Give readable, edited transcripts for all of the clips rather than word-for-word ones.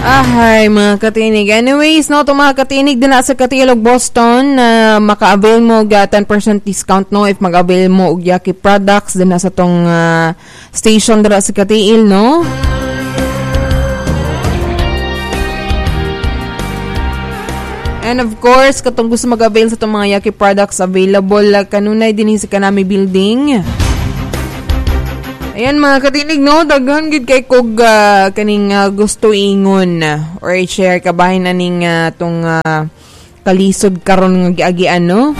Ahay, mga katinig. Anyways, no, to mga katinig din sa Katilog Boston na maka-avail mo ga 10% discount, no, if mag-avail mo og Yaki products din sa tong station dira sa Katiil, no. And of course, katong gusto mag-avail sa tong mga Yaki products, available kanunay dinhi sa Kanami Building. Ayan mga katinig, no, daghan gid kay kog kaning gusto ingon or i-share kabahin aning tong kalisod karon nga giagian, no.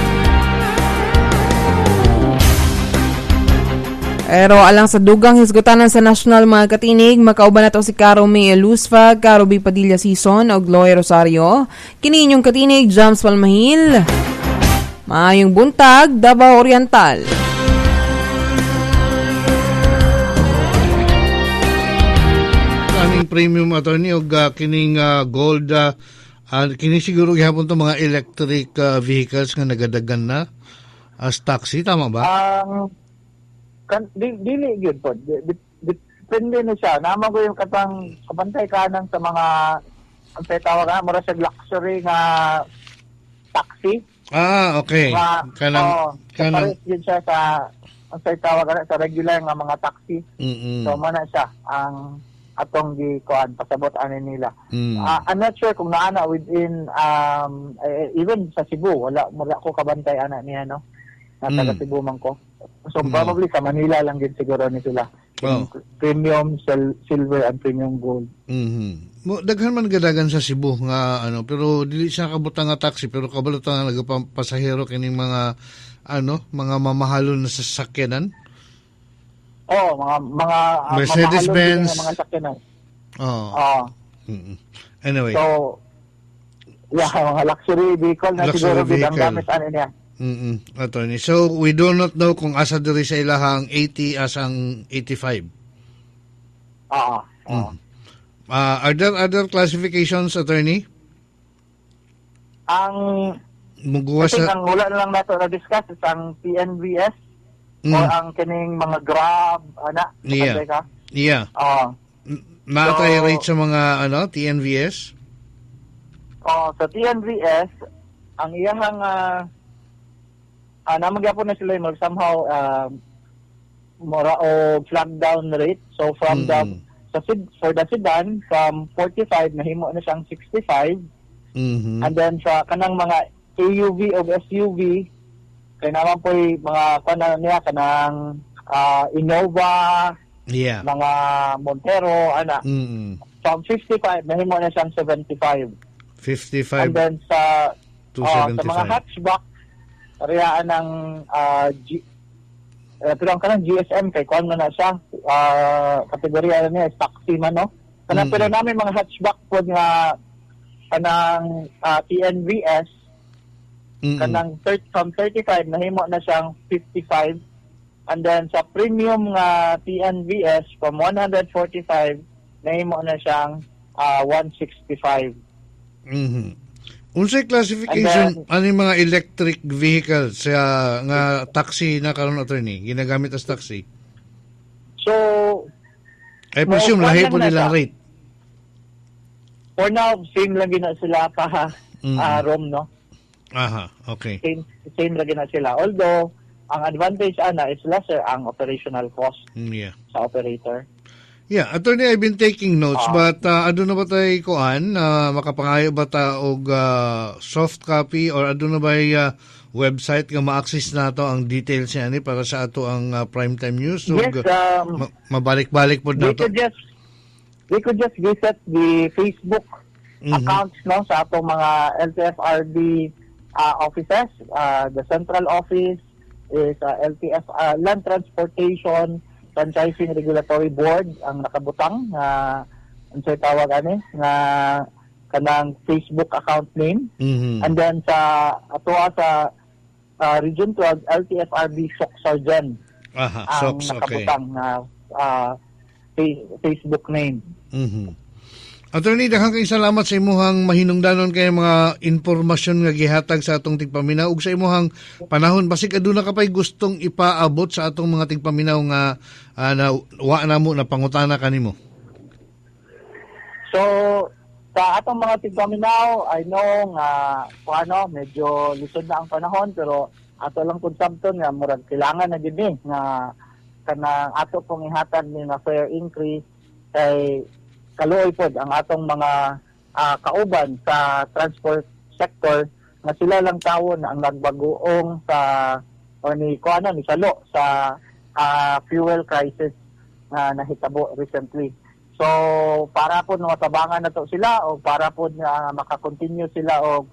Pero alang sa dugang hisgutanan sa national mga katinig, makauban na to si Caro May Lusfa, Caro B. Padilla Season og Loy Rosario. Kini inyong katinig, Jams Palmahil. Maayong buntag, Davao Oriental. Aning premium, attorney, og kining gold, kini siguro gihapon to mga electric vehicles nga nagadagan na as taxi, tama ba? Dili gyud po. Depende na siya. Naman ko yung katang kabantay kanang sa mga ang tawag na mura siya luxury nga taxi. Ah, okay. Kanang kanang yun siya sa ang tawag na sa regular nga mga taxi. Mm-hmm. So mo na siya ang atong gi kuan pasabot ani nila. I'm not sure kung naana within even sa Cebu wala ko kabantay ana niya, no. Nasa Cebu man ko. So probably sa Manila lang gid siguro ni sila. Oh. Premium silver and premium gold. Mhm. Mo daghan man gadagan sa Cebu nga ano, pero dili siya kabutang nga taxi, pero kabalo ta nga nagapasahero kining mga ano, mga mamahalon na sasakyanan. Oh, mga Mercedes-Benz, mga sakyanan. Oh. Oh. Mm-hmm. Anyway. So yeah, mga luxury vehicle na luxury siguro vehicle ang gamit ani niya. Attorney. So we do not know kung asa diri sa ilahang 80 as ang 85. Oo. Are there other classifications, attorney? Ang muguwa sa ang wala na lang nato na discuss is ang TNVS. Or ang kining mga Grab, ana. Yeah. Ka? Yeah. Naatay so, rate sa mga ano, TNVS? Oh, sa TNVS, ang iyahang namagyapon na sila yung somehow mora o flag down rate. So from the sa for the sedan from 45 nahimo na siyang 65. Mm-hmm. And then sa kanang mga AUV o SUV kay naman po mga kanang niya kanang Innova, yeah, mga Montero, ana. Mm-hmm. From 55 nahimo na siyang 75. 55. And then sa sa mga hatchback parehaan ng pero ang kanang GSM kay kuan man na siya, kategorya niya is taxi man, no. Kanang pero namin mga hatchback pod nga kanang TNVS, kanang from 35 nahimo na siyang 55, and then sa premium nga TNVS from 145 nahimo na siyang 165. Mhm. Unsay classification ani mga electric vehicles sa nga taxi na karon, attorney, ginagamit as taxi? So I presume lahi po nilang rate. For now same lang gina sila pa rom, no. Aha, okay. Same lagi na sila. Although, ang advantage ana is lesser ang operational cost sa operator. Yeah, attorney, I've been taking notes, but aduna ba tay kuan makapangayo ba ta og soft copy or aduna ba website nga ma-access nato ang details niya ani para sa ato ang primetime news? Yes, mabalik-balik pod nato. We could just visit the Facebook accounts, no, sa atong mga LTFRB offices. The central office is LTF Land Transportation Franchising Regulatory Board ang nakabutang unsay tawag ani nga kanang Facebook account name. And then sa atoa sa Region 12 LTFRB Soc Sargent ang Sox, nakabutang na Facebook name. Mm-hmm. Attorney, daghang kayong salamat sa imuhang mahinungdanon kay mga impormasyon nga gihatag sa atong tigpaminaw ug sa imuhang panahon. Basig aduna ka pay gustong ipaabot sa atong mga tigpaminaw nga na wa na mo na pangutana kanimo. So, Sa atong mga tigpaminaw, I know nga kung ano, medyo lisod na ang panahon, pero ato lang kung sabton nga murag kailangan na gid ni nga kanang ato pong ihatag ni nga fare increase kay kaluoy pod ang atong mga kauban sa transport sector nga sila lang tawon ang nagbagoong sa o ni kuan ni salo sa fuel crisis nga nahitabo recently. So para po matabangan na to sila o para po nga maka-continue sila og